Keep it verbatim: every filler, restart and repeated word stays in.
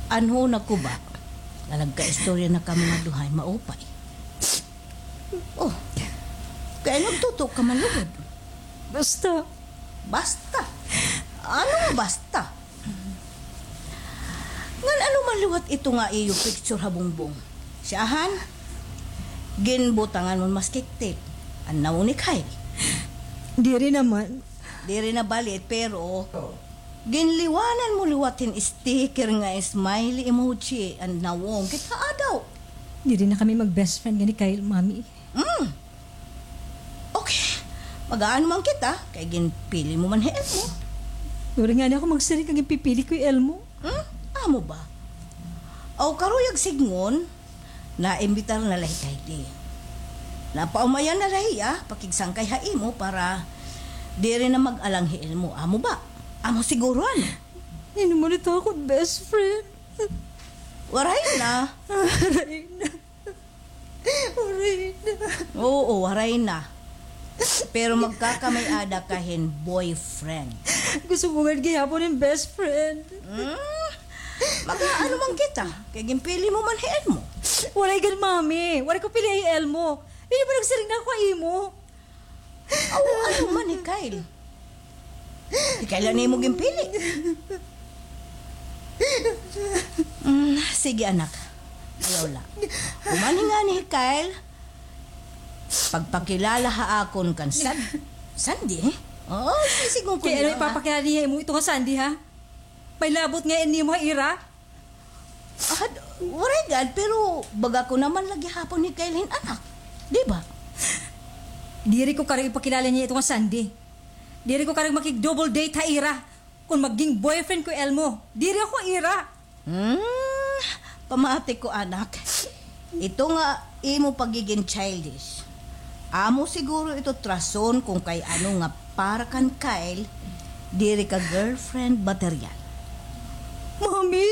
Ano na ko ba? Nga nagkaistorya na kamo nga duha hin maupay. Oh, kay nagtuto ka man lugod. Basta. Basta? Ano nga basta? Ngan ano man liwat ito nga iyo picture ha bungbong? Siyahan? Ginbutangan mo hin maskiktik an nawong ni Kyle. Diri naman. Diri na bali it, pero ginliwanan mo liwat hin sticker nga smiley emoji an nawong. Kita adaw. Diri na kami mag-best friend nga ni Kyle, Mami. Mm. Okay. Mag-aano man kita, kay ginpili mo man hi Elmo. Waray ngani ako magsiring nga ginpipili ko hi Elmo. Hmm? Amo ba? Aw, karuyag sidngon, naimbitar na la hi Kylie. Napaumayan na la hiya pakigsangkay ha imo para diri na mag-alang hi Elmo. Amo ba? Amo siguro, ano? Hin-o man it akon best friend? Waray na. Waray na. Waray na. Oo, waray na. Pero magkakamay-ada ka hin boyfriend. Gusto ko gad gihapon hin best friend. Hmm? Mag-aano man kita? Kay ginpili mo man hi Elmo. Waray gad, Mami. Waray ko pili hi Elmo. Diri ba nagsiring na ako ha imo? Aw, ano man hi Kyle? Hi Kyle an imo ginpili. Mm, sige, anak. Ayaw la. Human ngani hi Kyle, pagpakilala ha akon kan San-, Sandy, eh? Oo, sisidngon ko niya, ha? Kay ano ipapakilala niya imo ito nga Sandy, ha? May labot ngay-an nimo ha ira? Ah, waray gad, pero baga ko naman la gihapon hi Kyle hin anak. Di ba? Diri ko karuyag ipakilala niya ito nga Sandy. Diri ko karuyag makig-double date ha ira. Kon maging boyfriend ko hi Elmo, diri ako ira. Hmm, pamati ko, anak. Ito nga imo pagiging childish. Amo siguro ito it rason kon kay ano nga para kan Kyle, diri ka girlfriend material. Mami?